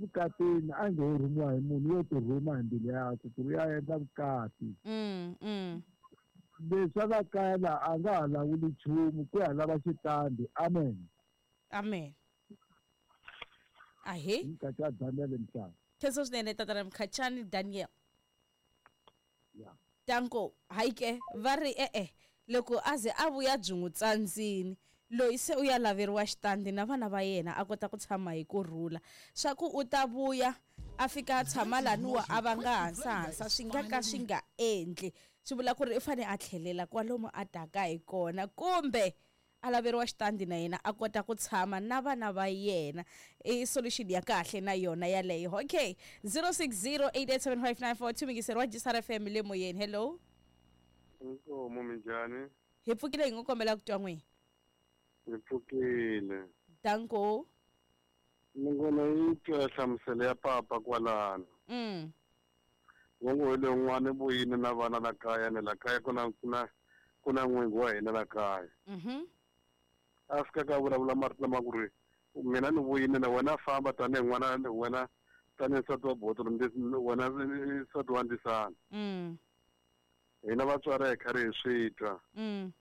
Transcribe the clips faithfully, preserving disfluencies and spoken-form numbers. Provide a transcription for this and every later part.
Vukatini a nge rhumiwa hi munhu yo ti rhuma hi mbilu yakwe ku ri ya endla vukati. Mm, mm. Leswi a nga kaya laha a nga ha lawuli nchumu ku ya lava xitandi. Amen. Amen. Ahe. Mkhachani Daniel Mhlanga. Khensa swinene tatana Mkhachani Daniel. Yeah. Tanko haike va ri e-e loko a ze a vuya byi n'wi tsandzini loyi se u ya laveriwa xitandi na vana va yena a kota ku tshama hi kurhula swa ku u ta vuya a fika a tshama laniwa a va nga hansahansa swi nga ka swi nga endli swi vula ku ri u fane a tlhelela kwalomu a taka hi kona kumbe a laveriwa xitandi na yena a kota ku tshama na vana va yena. I solution ya kahle na yona yaleyo. Okay, zero six zero eight eight seven five nine four two mingiseri wa G S R F M le moyeni. Hello. Inkomo minjhani? Hi pfukile hi ngo kombela ku twa n'wina. Hi pfukile. Danko. Ni ngona yi twa hlamuselo ya papa kwalano. Mm. Ngongo hi le n'wana vuyini na vana la kaya ne la kaya ku na ku na ku na n'wingi wa hina la kaya. Mhm. A fika ka vulavula marito lama ku ri mina ni vuyini na wena famba tanihi n'wana wena tanihi nsati wa botolo wena nsati wa ndisana. Mm. Hina vatswari hi karhi hi swi twa. Mm.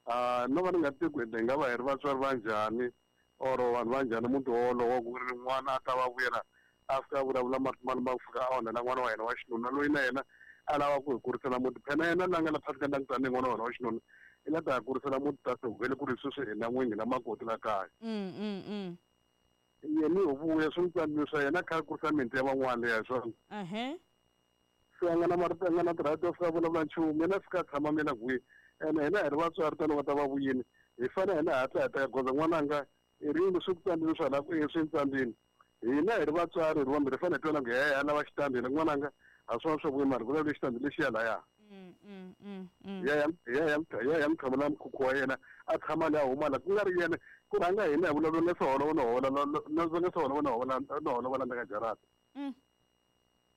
Ah no va ni nga tivi ku hi nga va hi ri vatswari va njhani or vanhu va njhani muti wolowo ku ri n'wana a ta va vuyela a fika a vulavula marito ma ku fika a onhela n'wana wa yena wa xinuna loyi na yena a lava ku hi kurisela muti phela yena la nga la phasi ka ndyangu tanihi n'wana wa yena wa xinuna i la ta ha kurisela muti ta se vhele ku ri sweswi hina n'winyi na makoti la kaya. Mm, mm, mm. Yena hi vuya swi n'wi tsandzile swa yena a kha a kurisa miti ya van'wana leya hi swona. Uh-huh. Se a nga na marito a nga na ti-right to fika vulavula nchumu yena a fika a tshama mina kwihi ene hina hi ri vatswari tani va ta va vuyini hi fanele hina hatla hi teka goza n'wananga i ri yini swi ku tsandzile swa la ku e swi tsandzile hina hi ri vatswari hi ri vambirhi hi fanele hi twana ku he a lava xitandi hina n'wananga a swona swa vuyi mara ku lava xitandi lexiya laya. Mm, mm, mm, mm. Ya ya ya ya ya ya mthamela mkhukhu wa yena a tshama la huma la ku nga ri yena ku rhanga hina hi vulavula na swi na hola na na swi na hola na hola va landza ka jarata. Mm.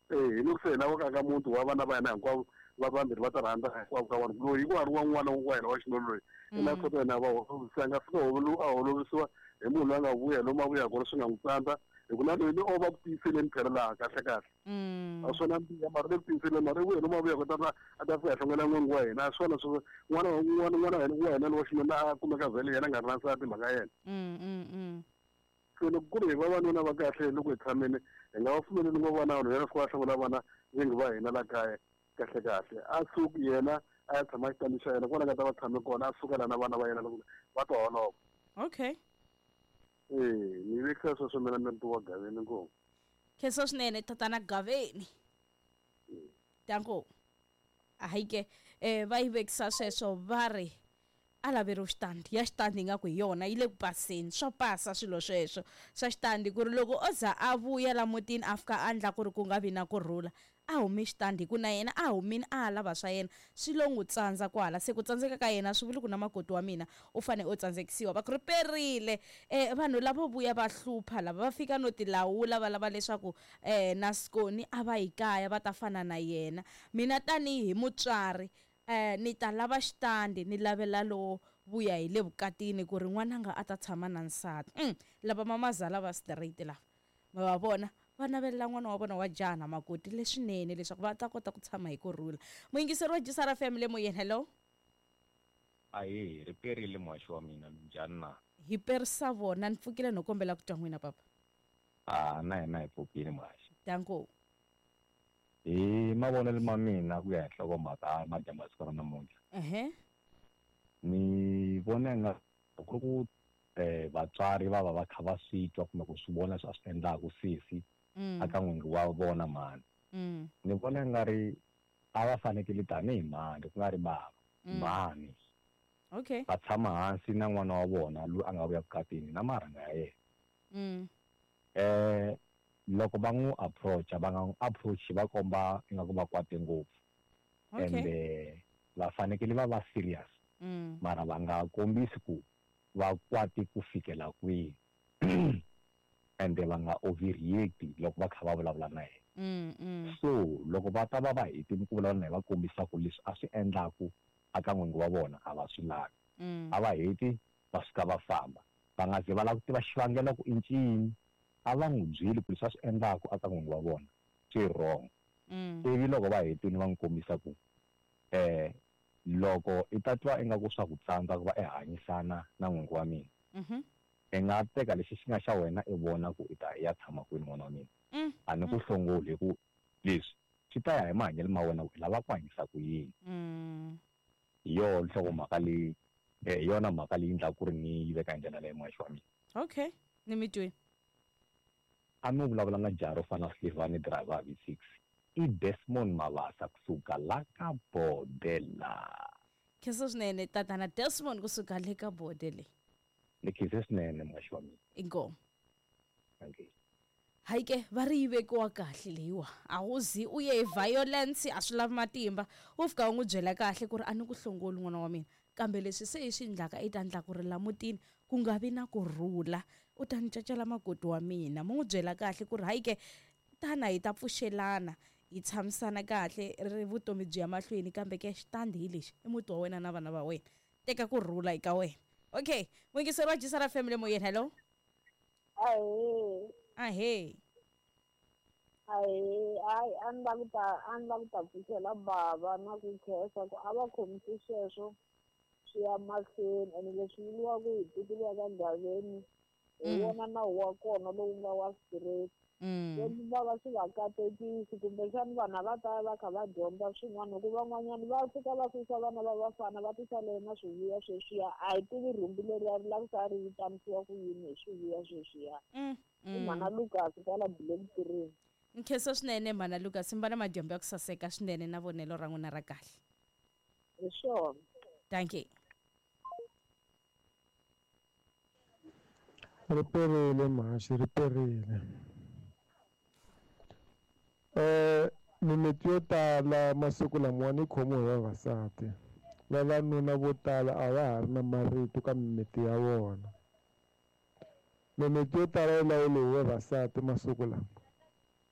Eh hi loko se hina va ka muti wa vana va yena hinkwavo va vambirhi va ta rhandza hinkwavo ka vona loyi ku ha ri wa n'wana wa yena wa xinuna loyi i na sota yena va holovisa nga fika a holovisiwa hi munhu loyi a nga vuya lomu a vuya kona swi nga n'wi tsandza hi ku na loyi ni o va ku tiyiseleni phela laha kahle kahle. Mm. A swona mbiya mara le ku tiyiseleni mara i vuya lomu a vuya kona a ta fika hlongela n'wingi wa hina a swona swi n'wana n'wana n'wana wa hina wa hina lowa xinuna a kumeka vhele yena a nga ri na nsati mhaka yena. Mm, mm, mm. Se loko ku ri hi vavanuna va kahle loko hi tshamile hi nga va pfumeleli ngo vana vanhu yena fika va hlongola vana vingi va hina la kaya kahle kahle a suki yena a ya tshama xitandi xa yena kona nga ta va tshame kona a suka la na vana va yena loko va ta holova. Okay. Eh ni vekisa sweswo mina ni ri wa Gaveni ngopfu. Khensa swinene tatana Gaveni. Danko. Ahike eh va yi vekisa sweswo va ri a laveriwa xitandi ya xitandi ingaku hi yona yi le ku paseni swo pasa swilo sweswo swa xitandi ku ri loko o za a vuya la mutini a fika a endla ku ri ku nga vi na kurhula a humi xitandi hi ku na yena a humini a ha lava swa yena swi lo n'wi tsandza kwala se ku tsandzeka ka yena swi vuli ku na makoti wa mina u fane u tsandzekisiwa va ku ri perile eh vanhu lavo vuya va hlupha lava va fika no tilawula va lava leswaku eh na Skoni a va hi kaya va ta fana na yena mina tanihi mutswari eh ni ta lava xitandi ni lavela lo vuya hi le vukatini ku ri n'wananga a ta tshama na nsati. Mm, lava mamazala va straight lava ma va vona va navelela n'wana wa vona wa jaha na makoti leswinene leswaku va ta kota ku tshama hi kurhula. Muyingiseri wa G S R F M le moyeni. Hello. Ahe ri perile muhaxi wa mina minjhani na? Hi perisa vona ni pfukile no kombela ku twa n'wina papa. Ah na hina hi pfukile muhaxi. Danko. Hi mavonelo ma mina ku ya hi nhlokomhaka madyambu ya siku ra namuntlha. Ehe. Ni vona nga ku ri ku eh vatswari va va va kha va swi twa kumbe ku swi vona leswi a swi endlaku sesi aka n'wingi wa vona mhani. Ni vona nga ri a va fanekele tanihi mhani ku nga ri bava mhani. Okay. Va tshama hansi na n'wana wa vona loyi a nga vuya vukatini na marhanga ya yena. Mm. Eh loko va n'wi approach va nga n'wi approach va komba ingaku va kwate ngopfu. Okay. Ende va fanekele va va serious. Mm. Mara va nga kombisi ku va kwate ku fikela kwihi. Ende va nga overreact loko va kha va vulavula na yena. Mm, mm. So loko va ta va va hetile ku vulavula na yena va kombisa ku leswi a swi endlaku aka n'wingi wa vona a va swi lavi. Mm. A va heti va suka va famba. Va nga ze va lava ku tiva xivangelo ku i ncini. A va n'wi byeli ku leswi a swi endlaku aka n'wingi wa vona swi wrong. Ivi loko va hetile va n'wi kombisa ku eh loko i ta twa ingaku swa ku tsandza ku va i hanyisana na n'wingi wa mina. I nga teka lexi xi nga xa wena i vona ku i ta ya tshama kwini n'wana wa mina. A ni ku hlongoli hi ku leswi swi ta ya hi mahanyelo ma wena ku i lava ku hanyisa ku yini. Hi yona nhlokomhaka leyi hi yona mhaka leyi endlaka ku ri ni yi veka hi ndlela leyi muhaxi wa mina. Okay, ni mi twile. A mi vulavula na jaha ro fana na Slivani driver V six i Desmond Mabasa kusuka la ka Bodela. Khensa swinene tatana Desmond kusuka le ka Bodele. Ni khensa swinene muhaxi wa mina. Inkomu. Thank you. Hayi ke va ri yi vekiwa kahle leyiwa a wu zi u ye hi violence a swi lavi matimba u fika u n'wi byela kahle ku ri a ni ku hlongoli n'wana wa mina kambe leswi se hi swi endlaka i ta endla ku ri la mutini ku nga vi na kurhula u ta ni cacela makoti wa mina mu n'wi byela kahle ku ri hayi ke tana hi ta pfuxelana hi tshamisana kahle ri vutomi byi ya mahlweni kambe ke xitandi hi lexi i muti wa wena na vana va wena teka kurhula eka wena. Okay, muyingiseri wa G S R Family moyeni, hello. Ahee. Ahee. Ahee, hayi a ni lava ku ta a ni lava ku ta pfuxela bava na ku khensa ku a va khomisi sweswo swi ya mahlweni ene leswi vuriwaka hi tiko ya ka Gaveni hi wona nawu wa kona lowu nga wa straight. Leswi bava swi va katekisi kumbexana vanhu a va ta va kha va dyondza swin'wana hikuva van'wanyana va fika va susa vana va vafana va tisalela na swivuya sweswiya a hi tivi rhumbi leriya ri lava ku ri vitanisiwa ku yini hi swivuya sweswiya. I mhana Lucas kwala Black Tree. Nkhensa swinene mhana Lucas, mi va na madyambu ya ku saseka swinene na vonelo ra n'wina ra kahle. Hi swona. Thank you. Ri perile mhaxi, ri perile. Eh mimiti yo tala masiku lamawani yi khomiwa hi vavasati. Vavanuna vo tala a va ha ri na marito ka mimiti ya vona. Mimiti yo tala yi lawuriwa hi vavasati masiku lama.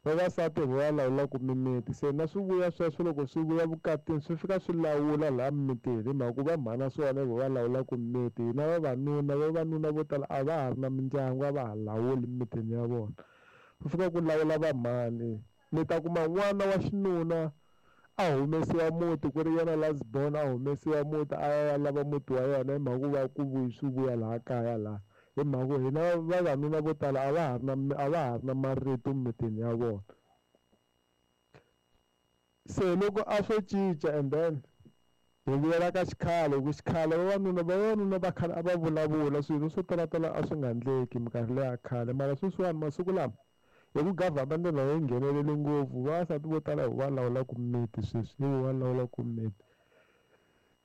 Vavasati hi va lawulaka mimiti se na swivuya sweswo loko swi vuya vukatini swi fika swi lawula laha mimitini hi mhaka ku va mhana swona hi va lawulaka mimiti. Hina vavanuna vavanuna vo tala a va ha ri na mindyangu a va ha lawuli mimitini ya vona. Ku fika ku lawula vamhani. Mi ta kuma n'wana wa xinuna a humesiwa muti ku ri yena last born a humesiwa muti a ya lava muti wa yena hi mhaka ku va ku vuyi swi vuya laha kaya laha hi mhaka ku hina vavanuna vo tala a va ha ri na a va ha ri na marito mimitini ya vona. Se loko a swo cinca and then hi vuyela ka xikhale hi ku xikhale vavanuna vavanuna va khale a va vulavula swilo swo talatala a swi nga endleki minkarhi leya khale mara sweswiwani masiku lama hi ku government na yi nghenelele ngopfu vavasati vo tala hi va lawulaka mimiti sweswi hi va lawulaka mimiti.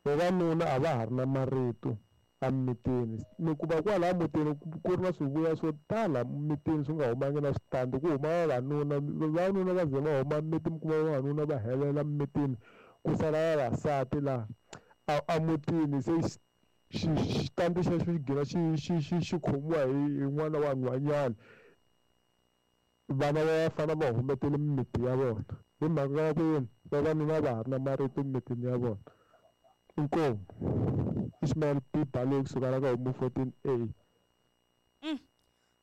Vavanuna a va ha ri na marito emimitini mi kuma kwalaya mutini ku ri na swivuya swo tala mimitini swi nga humangi na switandi ku huma vavanuna vavanuna va ze va huma mimiti mi kuma vavanuna va helela mimitini ku sala vavasati laha emutini se xitandi xexo xi gina xi xi xi xi khomiwa hi n'wana wa nhwanyana. Vana va vafana va humetele mimiti ya vona hi mhaka ya ku yini vavanuna va ha ri na marito mimitini ya vona. Inkomu. Ismail P Baloyi kusuka la ka Homu fourteen A.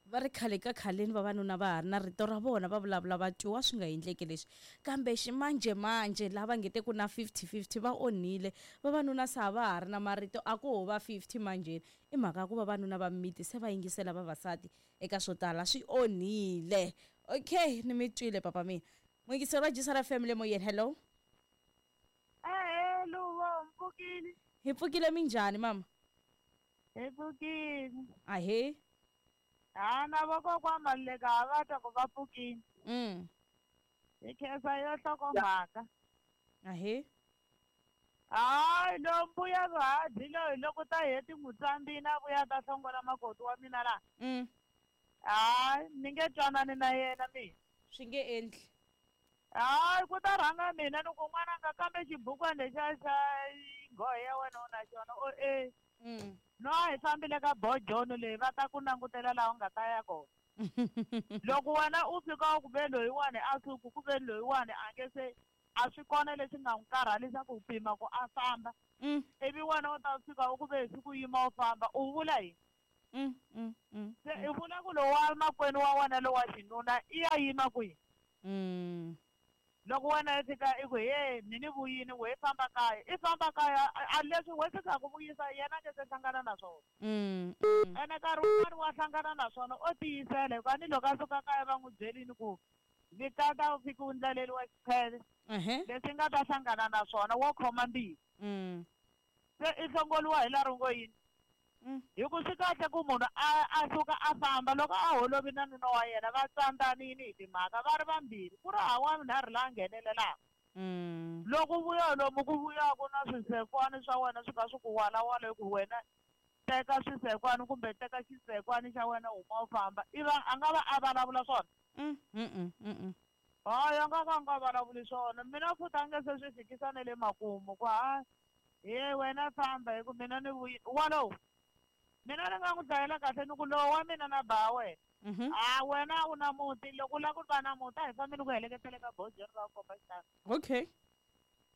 Va ri khale ka khaleni vavanuna va ha ri na rito ra vona va vulavula va twiwa swi nga endleki leswi kambe ximanjhemanjhe lava nge te ku na fifty fifty va onhile vavanuna se a va ha ri na marito a ku ho va fifty manjheni i mhaka ya ku vavanuna va mimiti se va yingisela vavasati eka swo tala swi onhile. Okay, ni mi twile papa mina. Muyingiseri wa G S R Family moyeni, hello. Ehe, Luvo, mpfukile. Hi pfukile minjhani mama? Hi pfukile. Ahee. Ha na vakokwana Maluleke a va twa ku va pfukile. Mm. Hi khensa yo nhlokomhaka. Ahee. Hayi lo mbuya vahadyi loyi loko ta heti n'wi tsambini a vuya ta hlongola makoti wa mina laha. Mm. Hayi ni nge twanani na yena mina. Swi nge endli. Hayi ku ta rhanga mina ni ku n'wananga kambe xibukwana lexiya xa nghohe ya wena u na xona o e. Mm. No a hi fambile ka bojono leyi va ta ku langutela laha u nga ta ya kona. Loko wena u fika u ku ve loyiwani a suku ku ve loyiwani a nge se a swi kona leswi nga n'wi karhalisa ku pima ku a famba. Mm. Ivi wena u ta fika u ku ve hi siku yima u famba u vula yini? Mm, mm, mm, Se i vula ku lowa makwenu wa wena lowa xinuna i ya yima kwihi? Mm. Loko wena i fika i ku he mi ni vuyini we famba kaya i famba kaya a leswi we fikaka vuyisa yena a nge se hlangana na swona. Mm, mm. Ene nkarhi wun'wani wa hlangana na swona o tiyisela hikuva ni loko a suka kaya va n'wi byelini ku vitata u fika u ndlaleriwa xikhele leswi nga ta hlangana na swona wo khoma mbilu. Mm. Se i hlongoliwa hi laha ri ngo yini? Mm. Hi ku swi kahle ku munhu a a suka a famba loko a holovi na nuna wa yena va tsandzanini hi timhaka va ri vambirhi ku ri hawa nharhu laha nghenelelaka. Mm. Loko vuya lomu ku vuyaku na swisekwani swa wena swi kha swi ku walawala hi ku wena teka swisekwani kumbe teka xisekwani xa wena huma u famba i va a nga va a vulavula swona. Mm, mm, mm, mm. Hayi a nga ka a nga vulavuli swona mina futhi a nge se swi fikisa na le makumu ku ha he wena famba hi ku mina ni vuyi walowo. Mina ni nga n'wi dlayela kahle ni ku lowu wa mina na ba wena. Mhm. A wena u na muti loko u lava ku va na muti a hi fambi ni ku heleketele ka bojeri ra ku komba xitandi. Okay.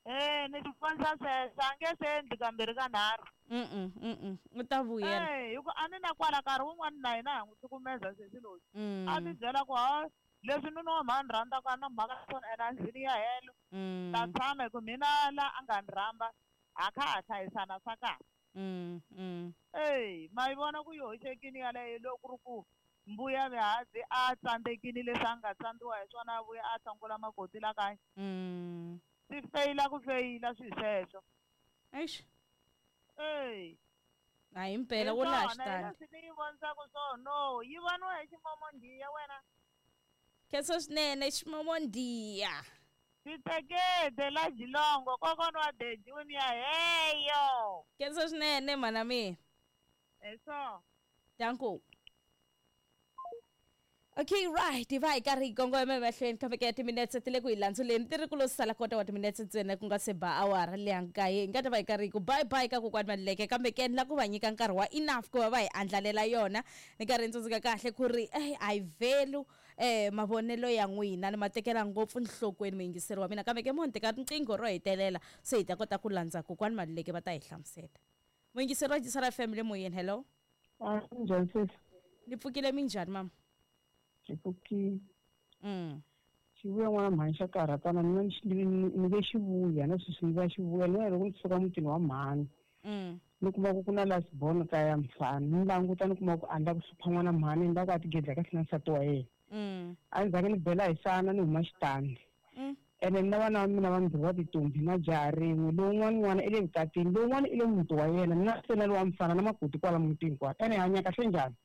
Eh ni tifanisa sweswo a nge se endli kambirhi ka nharhu. Mm mm. U ta vuyela. Eh hi ku a ni na kwala nkarhi wun'wani na hina ha n'wi cukumeza sesi loyi. Mm. A ti byela ku ha leswi nuna wa mhani rhandzaka a na mhaka na swona ene a ndlwini ya helo. Mm. Ta tshama hi ku mina la a nga ni rhamba a kha ha hlayisana swa kahle. Mm, mm. Ey, ma yi vona ku yi hoxekini yaleyo loko ku ri ku mbuya mihandzi a tsandzekini leswi a nga tsandziwa hi swona a vuya a hlongola makoti la kaya. Mm. Swi feyila ku feyila swi sweswo. Eish. Ey. A hi mpela wo laha xitandi. Leswi ni yi vonisaka swona no yi voniwa hi ximomondiya wena. Khensa swinene ximomondiya. Titekete la Jilongo kokwana wa The Junior heyo. Khensa swinene mhana mina. Eso. Danko. Okay, right. Hi va hi karhi hi kongoma emahlweni kambe ke timinetse ti le ku hi landzuleni ti ri ku lo sala kota wa timinetse ntsena ku nga se ba awara leya nkaye hi nga ta va hi karhi hi ku bye bye ka kokwani Maluleke kambe ke ni la ku va nyika nkarhi wa enough ku va va hi andlalela yona ni karhi ni tsundzuka kahle ku ri eh a hi vhelu eh mavonelo ya n'wina ni ma tekela ngopfu nhlokweni muyingiseri wa mina kambe ke mo ni teka riqingho ro hetelela se hi ta kota ku landza kokwani Maluleke va ta hi hlamusela. Muyingiseri wa Jisara F M le moyeni, hello. Ah, njhani sesi? Ni pfukile minjhani mama? Xipfukile. Mm. Xivuya n'wana mhani xa karhatana mina ni ve xivuya na sweswi ni va xivuya ni loko ni suka mutini wa mhani. Mm. Ni kuma ku ku na last born kaya mfana ni languta ni kuma ku a ni lava ku hlupha n'wana mhani ni lava ku a tigedla kahle na nsati wa yena. Mm. A ndzhaku ni bela hi sana ni huma xitandi. Mm. Ene ni na vana va mina vambirhi va tintombi na jaha rin'we lowun'wana n'wana i le vukatini lowun'wana i le muti wa yena mina se na lowa mfana na makoti kwala mutini kwala ene hi hanya kahle njhani?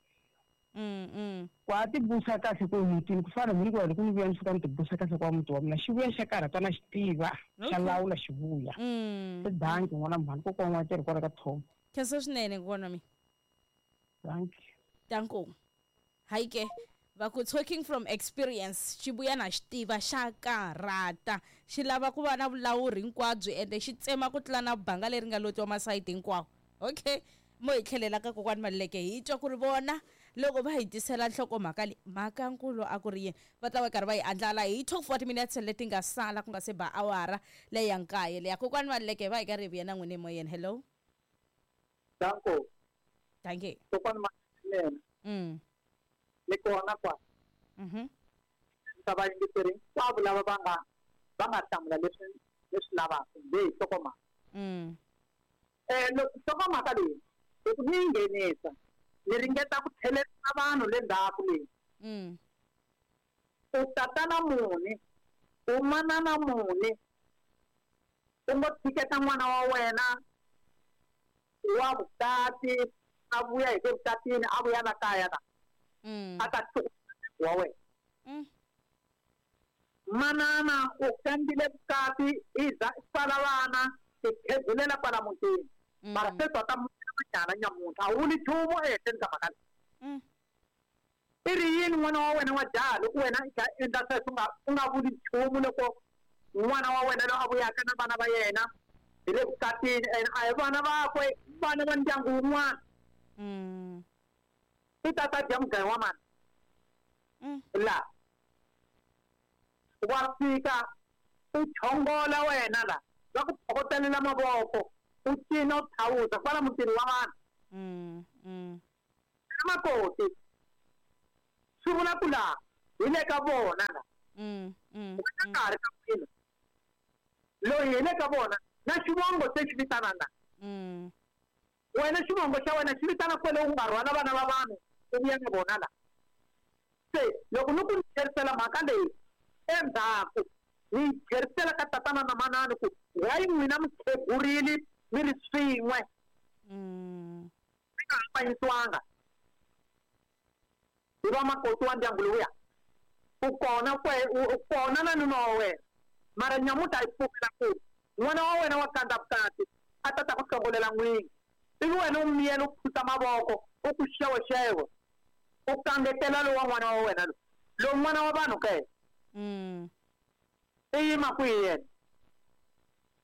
Mm, mm. Ku a tibusa kahle ku mutini ku fana ni ku loko ni vuya ni fika ni tibusa kahle kwa muti wa mina xivuya xa karhatana xi tiva xa lawula xivuya. Mm. Se danki n'wana mhani kokwana wa tirhi kwala ka Tom. Khensa swinene kokwana wa mina. Danki. Danko. Hayi ke va ku talking from experience xivuya na xi tiva xa karhata xi lava ku va na vulawuri hinkwabyo ende xi tsema ku tlula na banga leri nga lotiwa masayiti hinkwawo. Okay. Mo hi tlhelela ka kokwani Maluleke hi twa ku ri vona loko va hi tisela nhlokomhaka leyi mhaka nkulu a ku ri yini va ta va karhi va yi andlala hi top forty minutes leti nga sala ku nga se ba awara leyi ya nkaye leya kokwani Maluleke va hi karhi hi vuya na n'wina emoyeni. Hello. Danko. Danke. Kokwani Maluleke. Mm. Ni kona kwa. Mhm. Ta va yingiseri hinkwavo lava va nga va nga hlamula leswi leswi lavaka leyi nhlokomhaka. Mm. Eh loko nhlokomhaka leyi loko ni yi nghenisa ni ringeta ku tlhelerisa vanhu le ndzhaku leyi. Mm. U tatana muni u manana muni u ngo tshiketa n'wana wa wena wa vukati a vuya hi le vukatini a vuya la kaya la. Mm. A ta wa wena. Mm. Manana u kambile vukati i za i pfala vana i khegulela kwala mutini. Mm. Mara se tota nyana nyamuntlha a wu vuli nchumu ehenhleni ka mhaka leyi. Mm. I ri yini n'wana wa wena wa jaha loko wena i kha endla sweswo u nga u nga vuli nchumu loko n'wana wa wena loyi a vuyaka na vana va yena hi le vukatini ene a hi vana vakwe vana va ndyangu wun'wana. Mm. I ta ta dya mugayo wa mani? Mm. La wa fika u chongola wena la va ku phokotelela mavoko u cina u thawuza kwala mutini wa vanhu. Mm, mm. Wena makoti swi vula ku laha hi le ka vona la. Mm, mm, wena ka ha ri ka n'wina loyi hi le ka vona na xivongo se xi vitana na. Mm. Wena xivongo xa wena xi vitana kwele u nga rhwala vana va vanhu u vuya na vona la. Se loko ni ku ni tlherisela mhaka leyi endzhaku ni yi tlherisela ka tatana na manani ku why n'wina mi khegurile mi ri swin'we Mm. mi nga hambanyisiwanga hi va makoti wa ndyangu lowuya u kona kwe u kona na nuna wa wena mara nyamuta yi pfumela ku n'wana wa wena wa kandza vukati a ta ta ku hlongolela n'wingi ivi wena u miyela u phusa mavoko u ku xewexewe u kangetela lowa n'wana wa wena lowu lowu n'wana wa vanhu ke Mm. i yima kwihi yena.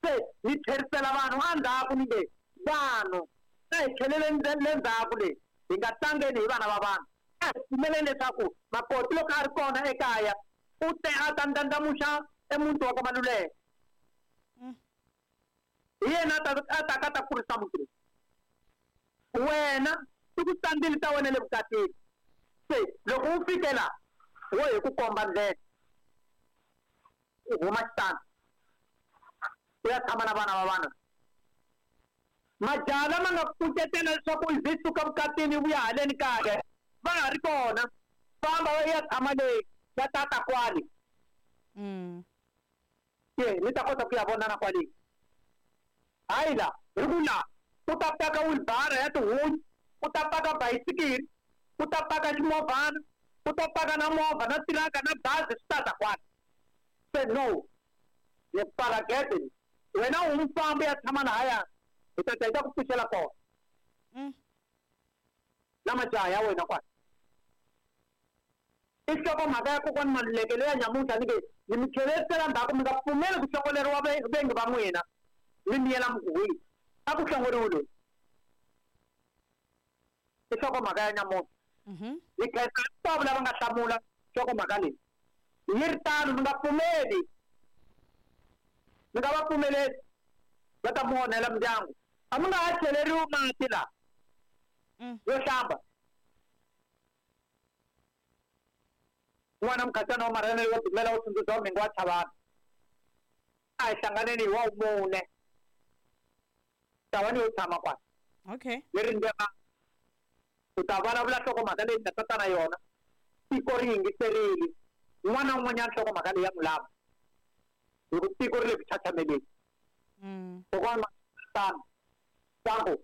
Se ni tlherisela vanhu endzhaku ni nge vanhu a hi tlheleleni le ndzhaku leyi hi nga tlangeni hi vana va vanhu a hi pfumeleni leswaku makoti loko a ri kona ekaya u te a ta ndlandlamuxa emuti wa ka Maluleke. Mm. Hi yena a ta a ta ka ta kurisa muti lowu. Wena i ku tsandzile ta wena le vukatini se loko u fike la wo hi ku komba ndlela u huma xitandi u ya tshama na vana va vanhu. Majaha lama nga kucetela leswaku i ze suka vukatini vuya haleni kaya va ha ri kona famba va ya tshama leyi va tata kwale. Mm. Ye ni ta kota ku ya vonana kwale. Hayi la hi ku la u ta paka wheelbarrow ya tihunyi u ta paka bayisikiri u ta paka ximovhana u ta paka na movha na tiraka na bazi swi tata kwale. Se no ni pfala gede wena u mufambi ya tshama lahaya hi ta ta hi ta ku pfuxela kona. Mm. Na majaha ya wena kwale. I nhlokomhaka ya kokwani Maluleke leya nyamuntlha ni nge ni mi tlherisela ndzhaku mi nga pfumeli ku hlongoleriwa vengi va n'wina mi miyela mi a ku hlongoriwi loyi. I nhlokomhaka ya nyamuntlha. Mhm. Ni khensa hinkwavo lava nga hlamula nhlokomhaka leyi yi ri tano mi nga pfumeli mi nga va pfumeleli va ta mi onhela mindyangu a mi nga ha cheleriwi mati laha Mm. yo hlamba. N'wana mukhatsana wa marhene wo dumela wo tsundzuxa wa mhingu wa chavana a hi hlanganeni hi wa mune tawani yo tshama kwala. Okay. Ni rindzela u ta vulavula nhlokomhaka leyi nga tata na yona tiko ri yingiserile un'wana na un'wanyana nhlokomhaka leyi ya n'wi lava hi ku tiko ri le ku chachameleni. Mm. Kokwana tano tango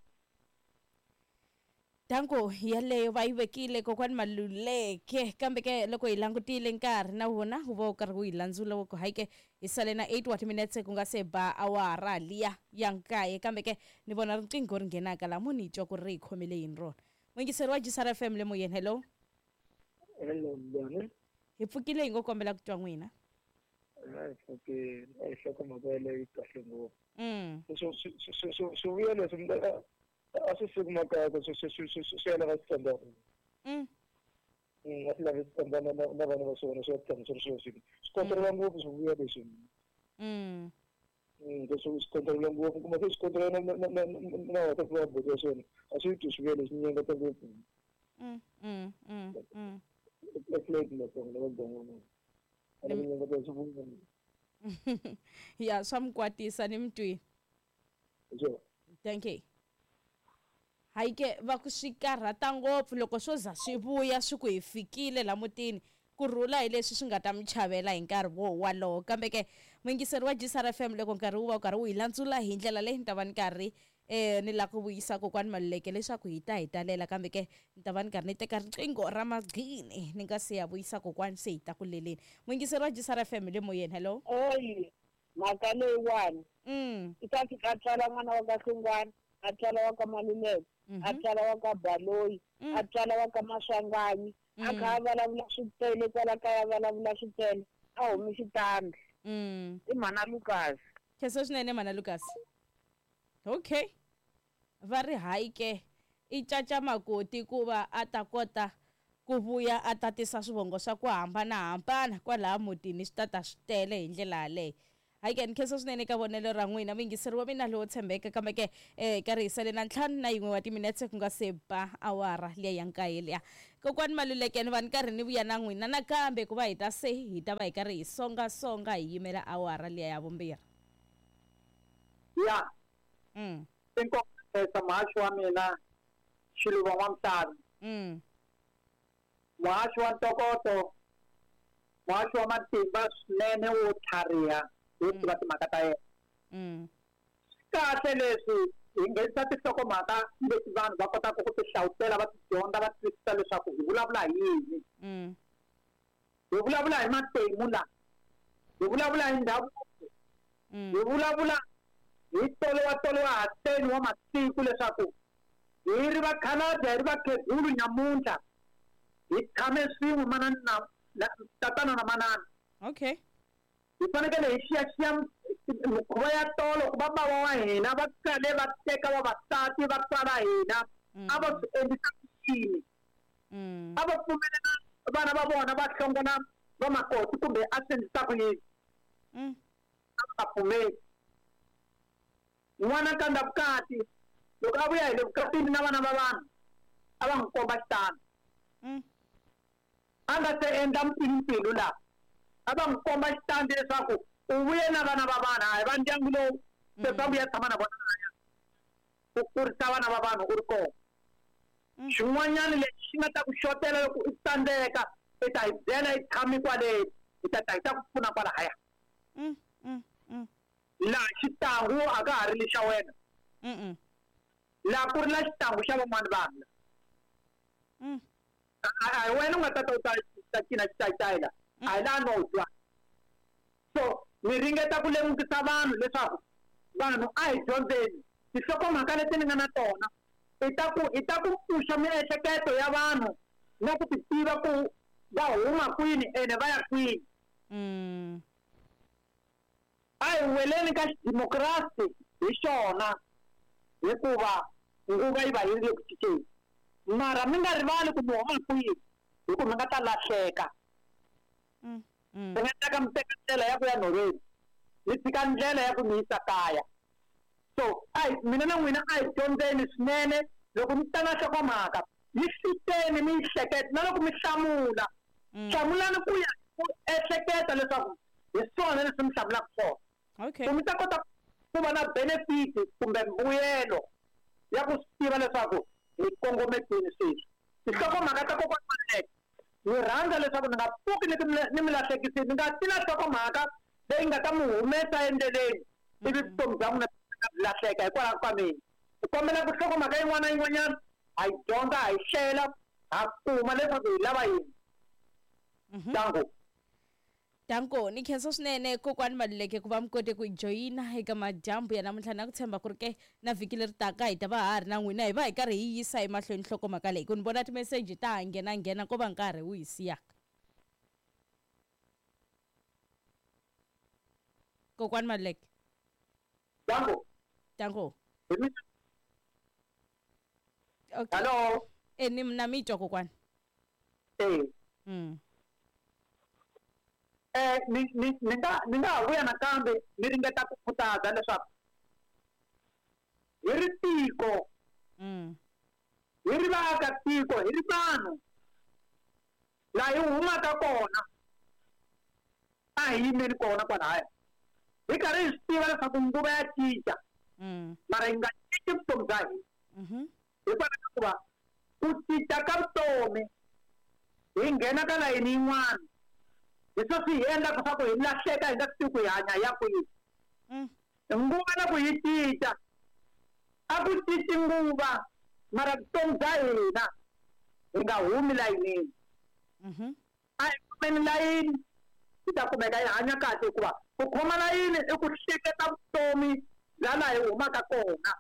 Danko yaleyo va yi vekile kokwani Maluleke kambe ke loko hi langutile nkarhi na wona wu va wu karhi wu hi landzula wa ku hayi ke hi sale na eight wa timinetse ku nga se ba awara liya ya nkaye kambe ke ni vona riqingho ri nghenaka laha mo ni twa ku ri hi khomele yini rona. Muyingiseri wa G S R F M le moyeni, hello. Hello, njhani? Hi pfukile hi ngo kombela ku twa n'wina. Hi pfukile a hi nhlokomhaka yaleyo yi kahle ngopfu. Mm. Swivuya leswi a swi suki makaya ku swi swi swi swi swi ya lava switandani. Mm. A swi lavi switandani na na vana va swona swi ya tshama swi ri sweswi. Swi kontrela ngopfu swivuya leswi. Mm. Mm, swi swi kontrela ngopfu kuma se swi kontrela na na na na wansati wa buti wa swona a swi twi swivuya leswi nyangata ngopfu. Mm, mm, mm, mm. Eflate Matsonga lava ban'wana. A ni nyangata swivuya. Ya swa mi kwatisa ni mi twini. Sure. Thank you. Hayi ke va ku swi karhata ngopfu loko swo za swi vuya swi ku hi fikile la mutini ku rhula hi leswi swi nga ta mi chavela hi nkarhi wo walowo kambe ke muyingiseri wa G S R F M loko nkarhi wu va wu karhi wu hi landzula hi ndlela leyi ni ta va ni karhi eh ni lava ku vuyisa kokwani Maluleke leswaku hi ta hi talela kambe ke ni ta va ni karhi ni teka riqingho ra magqini ni nga se ya vuyisa kokwani se hi ta ku leleni. Muyingiseri wa G S R F M le moyeni, hello. Oyi mhaka leyiwani Mm. i ta fika a tswala n'wana wa ka Hlongwane a tswala wa ka Maluleke a tswala wa ka Baloyi a tswala wa ka Maswanganyi a kha a vulavula switele kwala kaya a vulavula switele a humi xitandi. Mm. I mhana Lucas. Khensa swinene mhana Lucas. Okay. Va ri hayi ke i caca makoti ku va a ta kota ku vuya a tatisa swivongo swa ku hambanahambana kwalaha mutini swi tata swi tele hi ndlela yaleyo. Hayi ke ni khensa swinene ka vonelo ra n'wina muyingiseri wa mina lowo tshembeka kambe ke eh ka ri hisele na ntlhanu na yin'we wa timinetse ku nga se ba awara liya ya nkaye liya. Kokwani Maluleke ni va ni karhi ni vuya na n'wina nakambe ku va hi ta se hi ta va hi karhi hi songasonga hi yimela awara liya ya vumbirhi. Ya. Mm. Inkomo muhaxi wa mina Xiluva N'wamhlava. Mm. Muhaxi wa ntokoto, muhaxi wa matimba swinene wo tlhariha wo tiva timhaka ta yena. Mm. Kahle leswi hi nghenisa tinhlokomhaka leti vanhu va kotaka ku ti hlawutela va ti dyondza va twisisa leswaku hi vulavula hi yini. Mm. Hi vulavula hi matimu la, hi vulavula hi ndhavuko, Mm. hi vulavula hi tolo wa tolo wa hateni wa masiku leswaku hi ri vakhalabye hi ri vakhegulu nyamuntlha hi tshame swin'we manana na tatana na manana. Okay. Hi fanekele hi xiyaxiya mikhuva ya tolo ku va bava wa hina va kale va teka vavasati va tswala hina a va swi endlisa ku yini. Mm. A va pfumelela vana va vona va hlongola vamakoti kumbe a swi endlisa ku yini. Mm. A va nga pfumeli. N'wana kanda vukati loko a vuya hi le vukatini na vana va vanhu a va n'wi komba xitandi. Mm. A nga se endla mpfilumpfilu laha a va n'wi komba xitandi leswaku u vuye na vana va vanhu a hi va ndyangu lowu se va vuya tshama na vona laya u kurisa vana va vanhu u ri kona. Mm. Xin'wanyana lexi xi nga ta ku xotela loko u tsandzeka i ta hi byela i tshami kwale hi ta ta hi ta ku pfuna kwalahaya. Mm. Mm. Mm. Laha xitangu a ka ha ri lexa wena. Mm. Laha ku ri na xitangu xa van'wani vanhu. Mm. A hi wena u nga ta ta u ta ta cina xitayitayi la a hi laha no twa. So ni ringeta ku lemukisa vanhu leswaku vanhu a hi dyondzeni tinhlokomhaka leti ni nga na tona i ta ku i ta ku pfuxa miehleketo ya vanhu na ku ti tiva ku va huma kwini ene va ya kwini. Mm. A hi weleni ka xidemokirasi hi xona hikuva nguva yi va yi ri le ku cinceni. Mara mi nga rivali ku mi huma kwihi hi ku mi nga ta lahleka. Mm. Mm. Mi nga teka mi teka ndlela ya ku ya nhoveni mi tshika ndlela ya ku mi yisa kaya. So a hi mina na n'wina a hi dyondzeni swinene loko mi ta na nhlokomhaka yi hluteni mi yi hleketa na loko mi hlamula Mm. hlamulani ku ya ku ehleketa leswaku hi swona leswi mi hlamulaka swona. Okay. Ku mi ta kota ku va na benefit kumbe mbuyelo ya ku swi tiva leswaku hi kongome kwini sweswi. Tinhlokomhaka ta kokwana Maluleke ni rhandza leswaku ni nga pfuki ni ni mi lahlekisile ni nga ti na nhlokomhaka leyi nga ta mi humesa endleleni ivi vutomi bya n'wina byi lahleka hikwalaho ka mina. Ku kombela ku nhlokomhaka yin'wana na yin'wanyana ha yi dyondza ha yi hlela ha kuma leswaku hi lava yini. Mhm. Danko. Danko ni khensa swinene kokwani Maluleke ku va mi kote ku joyina eka madyambu ya namuntlha na ku tshemba ku ri ke na vhiki leri taka hi ta va ha ri na n'wina hi va hi karhi hi yisa emahlweni nhlokomhaka leyi ku ni vona timeseji ta ha nghena nghena ko va nkarhi wu hi siyaka. Kokwani Maluleke. Danko. Danko. Hi mina. Okay. Hello. E ni na mi twa kokwani. Eh. Mm. Eh ni ni ni nga ni nga ha vuya nakambe ni ringeta ku khutaza leswaku hi ri tiko Mm. hi ri vaakatiko hi ri vanhu laha hi humaka kona a hi yimeni kona kwalahaya hi karhi hi swi tiva leswaku nguva ya cinca Mm. mara hi nga cinci vutomi bya hina. Mhm. Hikwalaho ka ku va ku cinca ka vutomi hi nghena ka layeni yin'wana hi swo swi hi endlaka swa ku hi lahleka hi nga swi tivi ku hi hanya hi ya kwihi. Mm. Nguva loko yi cinca a ku cinci nguva mara vutomi bya hina hi nga humi layinini. Mhm. A hi khomeni layini hi ta kumeka hi hanya kahle hikuva ku khoma layini i ku hleketa vutomi bya laha hi humaka kona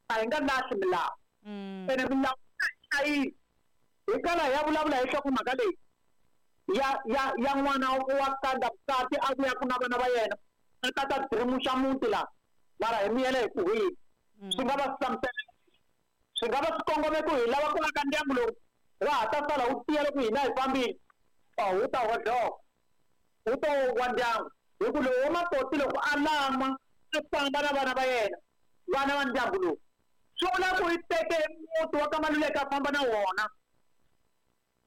a hi nga lahli milawu. Mm. Ene milawu a hi hlayisi. Hi kala hi ya vulavula hi nhlokomhaka leyi ya ya ya n'wana wa kanda vukati a vuyaku na vana va yena a ta ta dirimuxa muti laha mara hi miyele hi ku hini. Swi nga va swi hlamusela swi nga va swi kongome ku hi lava ku aka ndyangu lowu wa ha ta sala wu tiya loko hina hi fambile a wu ta hodloka wu to wa ndyangu. Hi ku lowu wa makoti loko a lan'wa a famba na vana va yena, vana va ndyangu lowu, swi vula ku i teke muti wa ka Maluleke a famba na wona,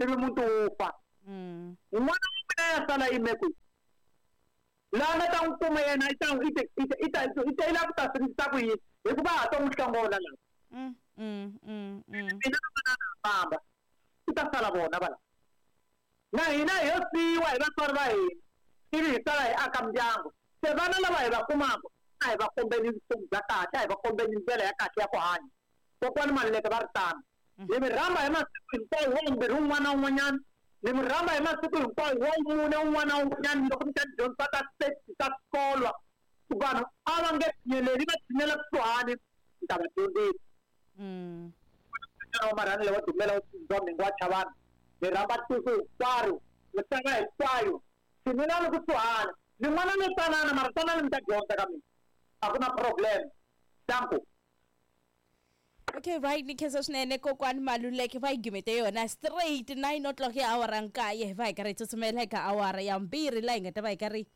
ivi muti wu fa. N'wana wa mina ya sala yime kwihi? Laha nga ta n'wi kuma yena i ta i ta i ta i ta i lava ku ta swi ku yini? Hikuva ha to n'wi hlongola laha. Mina na manana ha famba, ku ta sala vona va la. Na hina hi yo siyiwa hi vatswari va hina, ivi hi sala hi aka mindyangu. Se vana lava hi va kumaka a hi va kombeni vutomi bya kahle, a hi va kombeni ndlela ya kahle ya ku hanya. Kokwani Maluleke va ri tano. Ni mi rhamba hi masiku hinkwawo wa vumbirhi wun'wana na wun'wanyana, ni mi rhamba hi masiku hinkwawo wa mune wun'wana na wun'wanyana loko mi ta dyondzisa ta ta swikolo, ku vanhu a va nge tshineleli, va tshinela kusuhani, ni ta va dyondzisa. Wa marhangelo wa dumela wa tsundzuxa mhingu wa chavana, ni rhamba tiko hinkwaro, misava hinkwayo, tshinelani kusuhani. Ni n'wana ni tsanana, mara tsanana mi ta dyondza ka mina, a ku na problem. Danko. Okay, right, ni khensa swinene kokwani Maluleke va yi gimete yona straight nine o'clock ya awara nkaye, va hi karhi hi tsutsumela eka awara ya mbirhi laha hi nga ta va hi karhi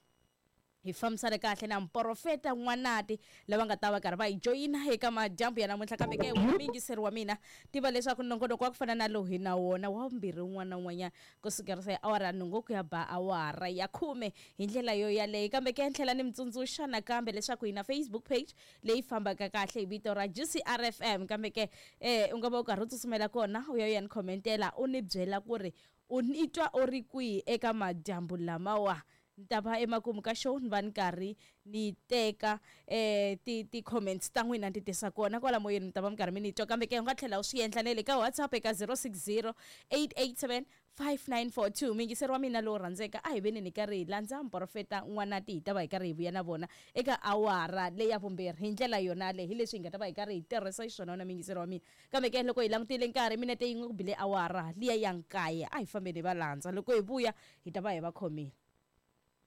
hi fambisana kahle na muprofeta N'wanati lava nga ta va karhi va hi joyina eka madyambu ya namuntlha. Kambe ke muyingiseri wa mina, tiva leswaku nongonoko wa ku fana na lowu hi na wona wa vumbirhi wun'wana na wun'wanyana kusukela se awara ya nhungu ku ya ba awara ya khume hi ndlela yo yaleyo. Kambe ke tlhela ni mi tsundzuxa nakambe leswaku hi na Facebook page leyi fambaka kahle hi vito ra G C R F M. Kambe ke eh u nga va u karhi u tsutsumela kona u ya u ya ni khomentela u ni byela ku ri u ni twa u ri kwihi eka madyambu lamawa. Ni ta va emakumu ka show ni va ni karhi ni teka eh ti ti comments ta n'wina ni ti tisa kona kwala moyeni, mi ta va mi karhi mi ni twa. Kambe ke u nga tlhela u swi endla na le ka WhatsApp eka zero six zero eight eight seven five nine four two. Muyingiseri wa mina lowu rhandzeka, a hi veni ni karhi hi landza muprofeta N'wanati, hi ta va hi karhi hi vuya na vona eka awara leyi ya vumbirhi hi ndlela yona leyi, hi leswi hi nga ta va hi karhi hi tirhisa xiswona na muyingiseri wa mina. Kambe ke loko hi langutile nkarhi minete yin'we ku bile awara liya ya nkaye, a hi fambeni hi va landza, loko hi vuya hi ta va hi va khomile.